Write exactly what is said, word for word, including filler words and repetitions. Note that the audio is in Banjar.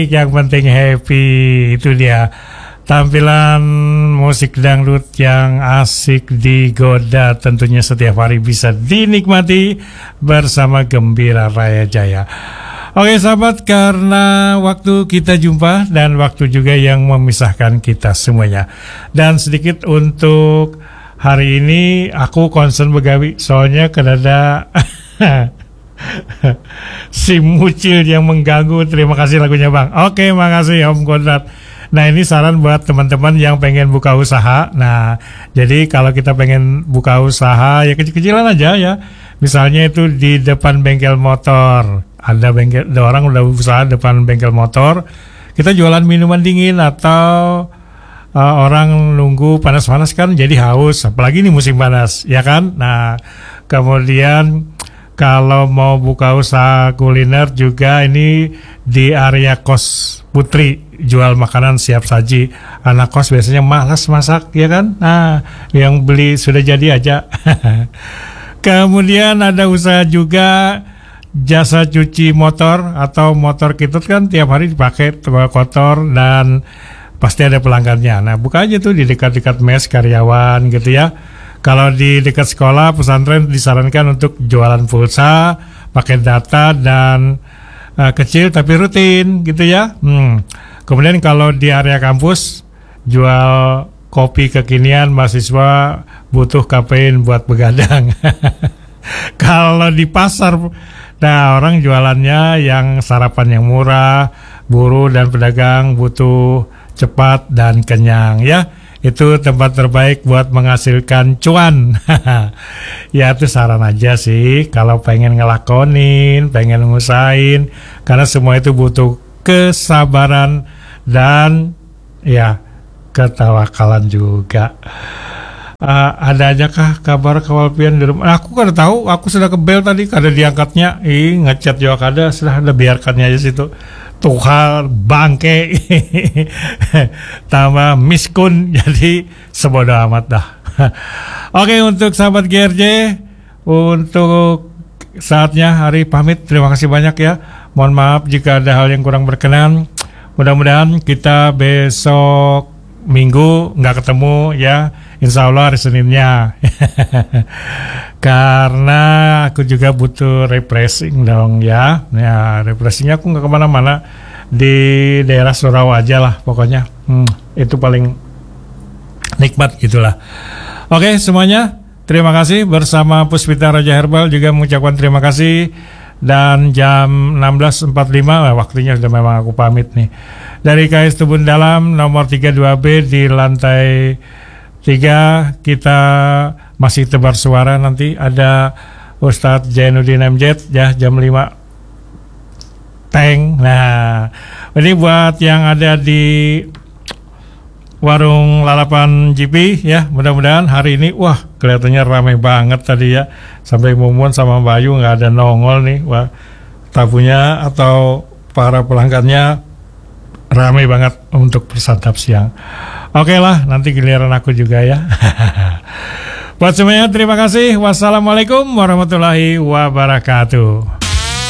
Yang penting happy, itu dia. Tampilan musik dangdut yang asik digoda tentunya setiap hari bisa dinikmati bersama Gembira Raya Jaya. Oke sahabat, karena waktu kita jumpa dan waktu juga yang memisahkan kita semuanya. Dan sedikit untuk hari ini aku concern begawi, soalnya kadada si Mucil yang mengganggu. Terima kasih lagunya, Bang. Oke, makasih Om Konrad. Nah, ini saran buat teman-teman yang pengen buka usaha. Nah, jadi kalau kita pengen buka usaha, ya kecil-kecilan aja ya. Misalnya itu di depan bengkel motor. Ada bengkel, ada orang udah usaha depan bengkel motor. Kita jualan minuman dingin atau, eh, orang nunggu panas-panas kan jadi haus. Apalagi ini musim panas, ya kan? Nah, kemudian kalau mau buka usaha kuliner juga ini di area kos Putri, jual makanan siap saji. Anak kos biasanya malas masak, ya kan? Nah, yang beli sudah jadi aja. Kemudian ada usaha juga jasa cuci motor atau motor kita kan tiap hari dipakai, kotor dan pasti ada pelanggannya. Nah, buka aja tuh di dekat-dekat mes karyawan gitu ya. Kalau di dekat sekolah, pesantren disarankan untuk jualan pulsa, pakai data dan, eh, kecil tapi rutin gitu ya. Hmm. Kemudian kalau di area kampus, jual kopi kekinian, mahasiswa butuh kafein buat begadang. Kalau di pasar, nah, orang jualannya yang sarapan yang murah, buruh dan pedagang butuh cepat dan kenyang ya. Itu tempat terbaik buat menghasilkan cuan. Ya, itu saran aja sih. Kalau pengen ngelakonin, pengen ngusahain, karena semua itu butuh kesabaran dan, ya, ketawakalan juga. Eh, ada aja kah kabar kawal pian di rumah? Nah, aku kada tahu, aku sudah ke bel tadi, kada diangkatnya. Ih, ngechat juga kada, sudah ada, biarkannya aja situ. Tuh hal bangke. Tambah miskun, jadi sebodoh amat dah. Oke, untuk sahabat G R J, untuk saatnya hari pamit. Terima kasih banyak ya. Mohon maaf jika ada hal yang kurang berkenan. Mudah-mudahan kita besok minggu nggak ketemu ya. Insya Allah hari Seninnya. Karena aku juga butuh refreshing dong ya. Ya, refreshingnya aku nggak kemana-mana, di daerah surau aja lah pokoknya. Hmm, itu paling nikmat gitulah. Oke semuanya, terima kasih. Bersama Puspita Raja Herbal juga mengucapkan terima kasih. Dan jam enam belas empat puluh lima, nah, waktunya sudah memang aku pamit nih. Dari K S Tubun Dalam nomor tiga dua B di lantai tiga, kita masih tebar suara. Nanti ada Ustadz Zainuddin M Z ya, jam lima. Teng. Nah, ini buat yang ada di warung lalapan G P ya, mudah-mudahan hari ini, wah, kelihatannya ramai banget tadi ya. Sampai Mumun sama Bayu nggak ada nongol nih. Wah, tabunya atau para pelanggannya ramai banget untuk bersantap siang. Oke lah, nanti giliran aku juga ya. Buat semuanya, terima kasih. Wassalamualaikum warahmatullahi wabarakatuh.